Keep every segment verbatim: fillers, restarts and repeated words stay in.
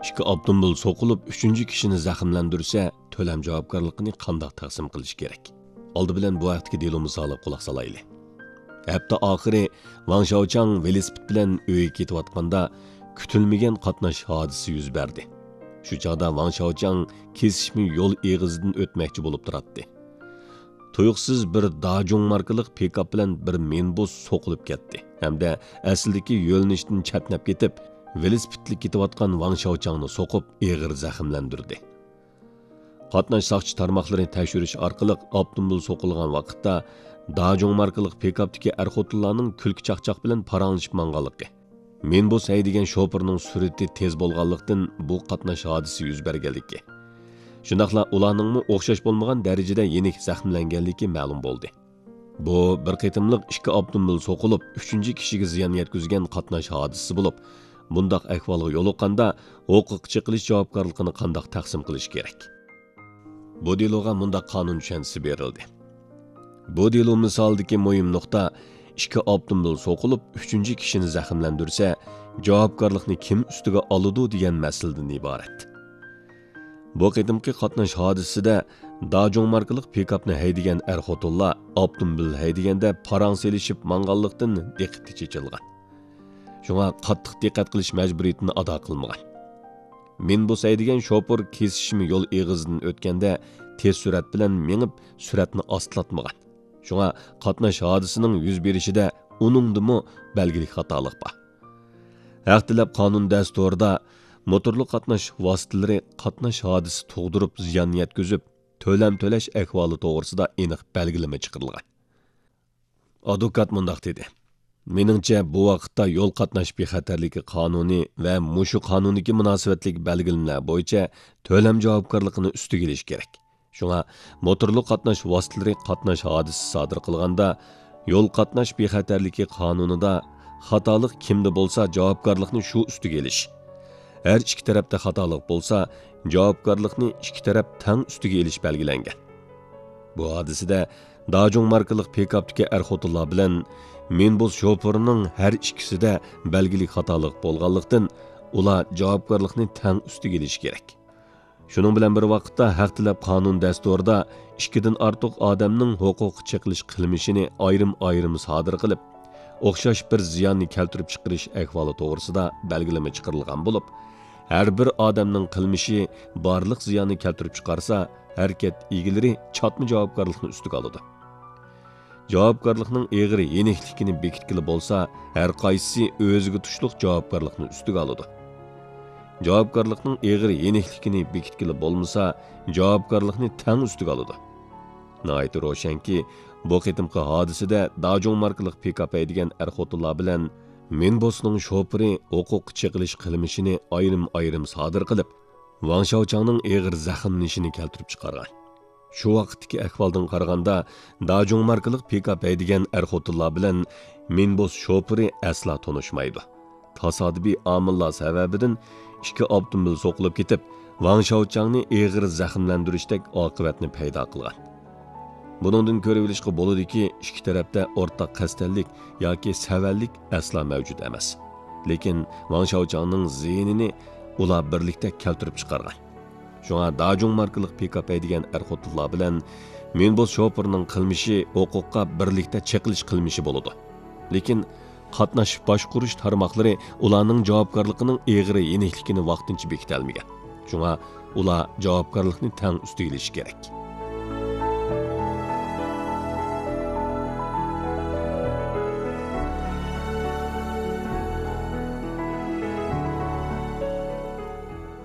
ئىككى ئاپتوموبىل سوقۇلۇپ، ئۈچىنچى كىشىنى زەخىملەندۈرسە، تۆلەم جاۋابكارلىقىنى قانداق تەقسىم قىلىش كېرەك؟ ئالدى بىلەن بۇ ھەقتىكى دېلو مىسالىغا قۇلاق سالايلى. ھەپتە ئاخىرى ۋاڭ شاۋچاڭ ۋېلىسىپىت بىلەن ئۆيگە كېتىۋاتقاندا، كۈتۈلمىگەن قاتناش ھادىسىسى يۈز بەردى. شۇ چاغدا ۋاڭ شاۋچاڭ كېسىشمە يول ئېغىزىدىن ئۆتمەكچى بولۇپ تۇراتتى. تۇيۇقسىز بىر داجۇڭ ماركىلىق پىكاپ بىلەن بىر مىنىبۇس سوقۇلۇپ كەتتى ھەمدە ئەسلىدىكى يۆنىلىشتىن چەتنەپ كېتىپ، ۋېلىسىپىتلىك كېتىۋاتقان ۋاڭ شاۋچاڭنى سوقۇپ، ئېغىر زەخىملەندۈردى. قاتناش ساقچى تارماقلىرى تەكشۈرۈش ئارقىلىق ئاپتوموبىل سوقۇلغان ۋاقىتتا، داجۇڭ ماركىلىق پىكاپتىكى ئەر-خوتۇنلارنىڭ كۈلكە-چاقچاق بىلەن پاراڭلىشىپ ماڭغانلىقى، مىنىبۇس ھەيدىگەن شوپۇرنىڭ سۈرئىتى تېز بولغانلىقتىن، بۇ قاتناش ھادىسىسى يۈز بەرگەنلىكى، شۇنداقلا ئۇلارنىڭمۇ ئوخشاش بولمىغان دەرىجىدە يېنىك زەخىملەنگەنلىكى مەلۇم بولدى. بۇ بىر قېتىملىق ئىككى ئاپتوموبىل سوقۇلۇپ، ئۈچىنچى كىشىگە زىيان يەتكۈزگەن قاتناش ھادىسىسى بولۇپ، بۇنداق ئەھۋالغا يولۇققاندا، ھوقۇققا چېقىلىش جاۋابكارلىقىنى قانداق تەقسىم قىلىش كېرەك؟ بۇ دېلوغا مۇنداق قانۇن چۈشەنچىسى بېرىلدى. بۇ دېلو مىسالىدىكى مۇھىم نۇقتا، ئىككى ئاپتوموبىل سوقۇلۇپ، ئۈچىنچى كىشىنى زەخىملەندۈرسە، جاۋابكارلىقنى كىم ئۈستىگە ئالىدۇ دېگەن مەسىلىدىن ئىبارەت. بۇ قېتىمقى قاتناش ھادىسىسىدە داجۇڭ ماركىلىق پىكاپنى ھەيدىگەن ئەر-خوتۇنلار ئاپتوموبىل ھەيدىگەندە پاراڭ سېلىشىپ ماڭغانلىقتىن، دىققىتى چېچىلغان. شۇڭا قاتتىق دىققەت قىلىش مەجبۇرىيىتىنى ئادا قىلمىغان. مىنىبۇس ھەيدىگەن شوپۇر كېسىشمە يول ئېغىزىدىن ئۆتكەندە، تېز سۈرئەت بىلەن مېڭىپ، سۈرئەتنى ئاستىلاتمىغان. شۇڭا قاتناش ھادىسىسىنىڭ يۈز بېرىشىدە ئۇنىڭدىمۇ بەلگىلىك خاتالىق بار. ھەق تىلەپ قانۇن دەستۇرىدا موتورلۇق قاتناش ۋاسىتىلىرى قاتناش ھادىسىسى تۇغدۇرۇپ زىيان يەتكۈزۈپ، تۆلەم تۆلەش ئەھۋالى توغرىسىدا ئېنىق بەلگىلىمە چىقىرىلغان. ئادۋوكات مۇنداق دېدى: مېنىڭچە، بۇ ۋاقىتتا يول قاتناش بىخەتەرلىكى قانۇنى ۋە مۇشۇ قانۇندىكى مۇناسىۋەتلىك بەلگىلىمىلەر بويىچە تۆلەم جاۋابكارلىقىنى ئۈستىگە ئېلىش كېرەك. شۇڭا موتورلۇق قاتناش ۋاسىتىلىرى قاتناش ھادىسىسى سادىر قىلغاندا، يول قاتناش بىخەتەرلىكى قانۇنىدا خاتالىق كىمدە بولسا، جاۋابكارلىقنى شۇ ئۈستىگە ئېلىش، ھەر ئىككى تەرەپتە خاتالىق بولسا، جاۋابكارلىقنى ئىككى تەرەپ تەڭ ئۈستىگە ئېلىش بەلگىلەنگەن. بۇ ھادىسىدە داجۇڭ ماركىلىق پىكاپتىكى ئەر-خوتۇنلار بىلەن مىنىبۇس شوپۇرىنىڭ ھەر ئىككىسىدە بەلگىلىك خاتالىق بولغانلىقتىن، ئۇلار جاۋابكارلىقنى تەڭ ئۈستىگە ئېلىشى كېرەك. شۇنىڭ بىلەن بىر ۋاقىتتا، ھەق تىلەپ قانۇن دەستۇرىدا ئىككىدىن ئارتۇق ئادەمنىڭ ھوقۇققا چېقىلىش قىلمىشىنى ئايرىم-ئايرىم سادىر قىلىپ، ئوخشاش بىر زىياننى كەلتۈرۈپ چىقىرىش ئەھۋالى توغرىسىدا بەلگىلىمە چىقىرىلغان بولۇپ، ھەر بىر ئادەمنىڭ قىلمىشى بارلىق زىياننى كەلتۈرۈپ چىقارسا، ھەرىكەت ئىگىلىرى چاتما جاۋابكارلىقنى ئۈستىگە ئالىدۇ. جاۋابكارلىقنىڭ ئېغىر يېنىكلىكىنى بېكىتكىلى بولسا، ھەر قايسىسى ئۆزىگە تۇشلۇق جاۋابكارلىقنى ئۈستىگە ئالىدۇ. جاۋابكارلىقنىڭ ئېغىر يېنىكلىكىنى بېكىتكىلى بولمىسا، جاۋابكارلىقنى تەڭ ئۈستىگە ئالىدۇ. ناھايىتى روشەنكى، بۇ قېتىمقى ھادىسىدە داجۇڭ ماركىلىق پىكاپ ھەيدىگەن ئەر-خوتۇنلار بىلەن مىنىبۇسنىڭ شوپۇرى ھوقۇققا چېقىلىش قىلمىشىنى ئايرىم-ئايرىم سادىر قىلىپ، ۋاڭ شاۋچاڭنىڭ ئېغىر زەخىملىنىشىنى كەلتۈرۈپ چىقارغان. شۇ ۋاقىتتىكى ئەھۋالدىن قارىغاندا، داجۇڭ ماركىلىق پىكاپ ھەيدىگەن ئەر-خوتۇنلار بىلەن مىنىبۇس شوپۇرى ئەسلا تونۇشمايدۇ. تاسادىپىي ئامىللار سەۋەبىدىن ئىككى ئاپتوموبىل سوقۇلۇپ كېتىپ، ۋاڭ شاۋچاڭنى ئېغىر زەخىملەندۈرۈشتەك ئاقىۋەتنى پەيدا قىلغان. بۇنىڭدىن كۆرۈۋېلىشقا بولىدۇكى، ئىككى تەرەپتە ئورتاق قەستەنلىك ياكى سەۋەنلىك ئەسلا مەۋجۇت ئەمەس. لېكىن ۋاڭ شاۋچاڭنىڭ زىيىنىنى ئۇلار بىرلىكتە كەلتۈرۈپ چىقارغان. شۇڭا داجۇڭ ماركىلىق پىكاپ ھەيدىگەن ئەر-خوتۇنلار بىلەن مىنىبۇس شوپۇرىنىڭ قىلمىشى ھوقۇققا بىرلىكتە چېقىلىش قىلمىشى بولىدۇ. لېكىن قاتناش باشقۇرۇش تارماقلىرى ئۇلارنىڭ جاۋابكارلىقىنىڭ ئېغىر يېنىكلىكىنى ۋاقتىنچە بېكىتەلمىگەن. شۇڭا ئۇلار جاۋابكارلىقنى تەڭ ئۈستىگە ئېلىشى كېرەك.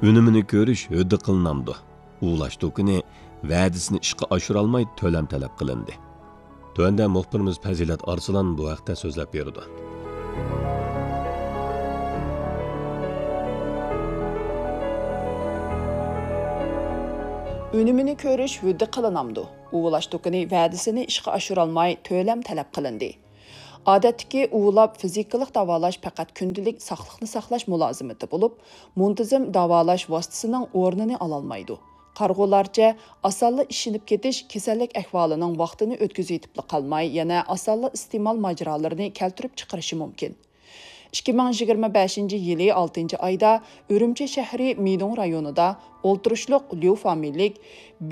ئۈنۈمىنى كۆرۈش ھۆددە قىلىنامدۇ؟ ئۇۋۇلاش دۇكىنى ۋەدىسىنى ئىشقا ئاشۇرالماي تۆلەم تەلەپ قىلىندى. تۆۋەندە مۇخبىرىمىز پەزىلەت ئارسلان بۇ ھەقتە سۆزلەپ بېرىدۇ. ئۈنۈمىنى كۆرۈش ھۆددە قىلىنامدۇ؟ ئۇۋۇلاش دۇكىنى ۋەدىسىنى ئىشقا ئاشۇرالماي تۆلەم تەلەپ قىلىندى. ئادەتتىكى ئۇۋۇلاپ فىزىكىلىق داۋالاش پەقەت كۈندىلىك ساقلىقنى ساقلاش مۇلازىمىتى بولۇپ، مۇنتىزىم داۋالاش ۋاسىتىسىنىڭ ئورنىنى ئالالمايدۇ. قارىغۇلارچە، ئاسانلا ئىشىنىپ كېتىش كېسەللىك ئەھۋالىنىڭ ۋاقتىنى ئۆتكۈزۈۋېتىپلا قالماي، يەنە ئاسانلا ئىستېمال ماجىرالىرىنى كەلتۈرۈپ چىقىرىشى مۇمكىن. ئىككى مىڭ يىگىرمە بەشىنچى يىلى ئالتىنچى ئايدا ئۈرۈمچى شەھىرى مىدۇڭ رايونىدا ئولتۇرۇشلۇق ليۇ فامىلىلىك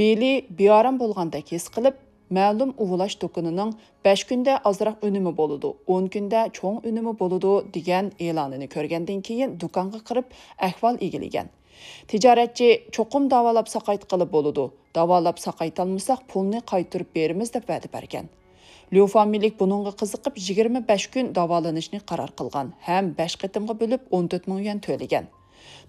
بېلى بىئارام بولغاندەك ھېس قىلىپ، مەلۇم ئۇۋۇلاش دۇكىنىنىڭ «بەش كۈندە ئازراق ئۈنۈمى بولىدۇ، ئون كۈندە چوڭ ئۈنۈمى بولىدۇ» دېگەن ئېلانىنى كۆرگەندىن كېيىن دۇكانغا كىرىپ ئەھۋال ئىگىلىگەن. تىجارەتچى: «چوقۇم داۋالاپ ساقايتقىلى بولىدۇ، داۋالاپ ساقايتالمىساق پۇلنى قايتۇرۇپ بېرىمىز» دەپ ۋەدە بەرگەن. ليۇ فامىلىلىك بۇنىڭغا قىزىقىپ، يىگىرمە بەش كۈن داۋالىنىشنى قارار قىلغان ھەم بەش قېتىمغا بۆلۈپ ئون تۆت مىڭ يۈەن تۆلىگەن.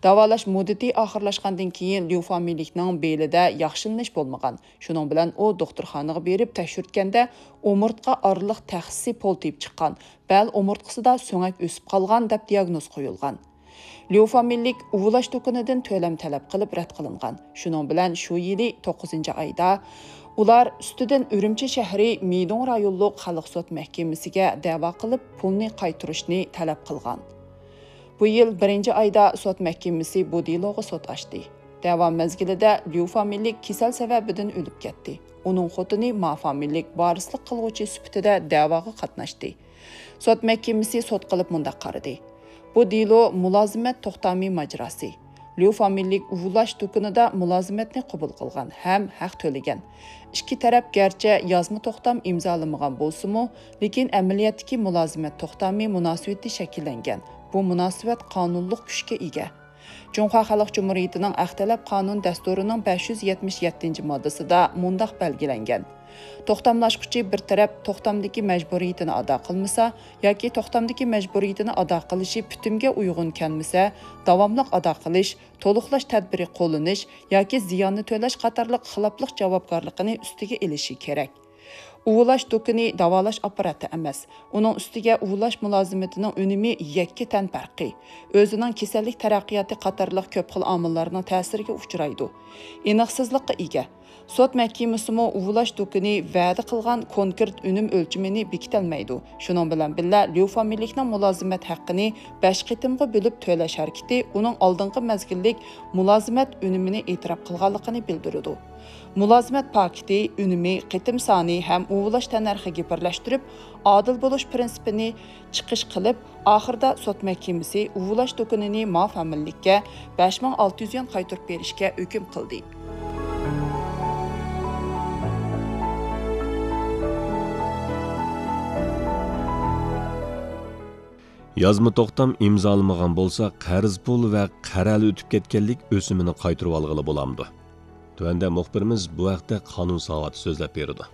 داۋالاش مۇددىتى ئاخىرلاشقاندىن كېيىن ليۇ فامىلىلىكنىڭ بېلىدە ياخشىلىنىش بولمىغان. شۇنىڭ بىلەن ئۇ دوختۇرخانىغا بېرىپ تەكشۈرتكەندە، ئومۇرتقا ئارىلىق تەخسىسى پولتىيىپ چىققان، بەل ئومۇرتقىسىدا سۆڭەك ئۆسۈپ قالغان دەپ دىياگنوز قويۇلغان. ليۇ فامىلىلىك ئۇۋۇلاش دۇكىنىدىن تۆلەم تەلەپ قىلىپ رەت قىلىنغان. شۇنىڭ بىلەن شۇ يىلى توققۇزىنچى ئايدا ئۇلار ئۈستىدىن ئۈرۈمچى شەھىرى مىدۇڭ رايونلۇق خەلق سوت مەھكىمىسىگە دەۋا قىلىپ، پۇلنى قايتۇرۇشنى تەلەپ قىلغان. بۇ يىل بىرىنچى ئايدا سوت مەھكىمىسى بۇ دېلوغا سوت ئاچتى. دەۋا مەزگىلىدە ليۇ فامىلىلىك كېسەل سەۋەبىدىن ئۆلۈپ كەتتى. ئۇنىڭ خوتۇنى ما فامىلىلىك ۋارىسلىق قىلغۇچى سۈپىتىدە دەۋاغا قاتناشتى. سوت مەھكىمىسى سوت قىلىپ مۇنداق قارىدى: بۇ دېلو مۇلازىمەت توختامى ماجىراسى. ليۇ فامىلىلىك ئۇۋۇلاش دۇكىنىدا مۇلازىمەتنى قوبۇل قىلغان ھەم ھەق تۆلىگەن. ئىككى تەرەپ گەرچە يازما توختام ئىمزالىمىغان بولسىمۇ، لېكىن ئەمەلىيەتتىكى مۇلازىمەت توختامى مۇناسىۋىتى شەكىللەنگەن. بۇ مۇناسىۋەت قانۇنلۇق كۈچكە ئىگە. جۇڭخۇا خەلق جۇمھۇرىيىتىنىڭ ئەخلەت قانۇن دەستۇرىنىڭ بەش يۈز يەتمىش يەتتىنچى ماددىسىدا مۇنداق بەلگىلەنگەن: توختاملاشقۇچى بىر تەرەپ توختامدىكى مەجبۇرىيىتىنى ئادا قىلمىسا ياكى توختامدىكى مەجبۇرىيىتىنى ئادا قىلىشى پۈتۈمگە ئۇيغۇن كەلمىسە، داۋاملىق ئادا قىلىش، تولۇقلاش تەدبىرى قوللىنىش ياكى زىياننى تۆلەش قاتارلىق خىلاپلىق جاۋابكارلىقىنى ئۈستىگە ئېلىشى كېرەك. ئۇۋۇلاش دۇكىنى داۋالاش ئاپپاراتى ئەمەس. ئۇنىڭ ئۈستىگە ئۇۋۇلاش مۇلازىمىتىنىڭ ئۈنۈمى يەككە تەن پەرقى، ئۆزىنىڭ كېسەللىك تەرەققىياتى قاتارلىق كۆپ خىل ئامىللارنىڭ تەسىرىگە ئۇچرايدۇ. ئېنىقسىزلىققا ئىگە. سوت مەھكىمىسىمۇ ئۇۋۇلاش دۇكىنى ۋەدە قىلغان كونكرېت ئۈنۈم ئۆلچىمىنى بېكىتەلمەيدۇ. شۇنىڭ بىلەن بىللە، ليۇ فامىلىلىكنىڭ مۇلازىمەت ھەققىنى بەش قېتىمغا بۆلۈپ تۆلەش ھەرىكىتى ئۇنىڭ ئالدىنقى مەزگىللىك مۇلازىمەت ئۈنۈمىنى ئېتىراپ قىلغانلىقىنى بىلدۈرىدۇ. مۇلازىمەت پاكىتى، ئۈنۈمى، قېتىم سانى ھەم ئۇۋۇلاشتەننەرخىگە بىرلەشتۈرۈپ، ئادىل بولۇش پىرىنسىپىنى چىقىش قىلىپ، ئاخىرىدا سوت مەھكىمىسى ئۇۋۇلاش دۇكىنىنى ما فامىلىلىككە بەش مىڭ ئالتە يۈز يۈەن قايتۇرۇپ بېرىشكە ھۆكۈم قىلدى. يازما توختام ئىمزالىمىغان بولسا، قەرز پۇل ۋە قەرەلى ئۆتۈپ كەتكەنلىك ئۆسۈمىنى قايتۇرۇۋالغىلى بولامدۇ؟ تۆۋەندە مۇخبىرىمىز بۇ ھەقتە قانۇن ساۋاتى سۆزلەپ بېرىدۇ.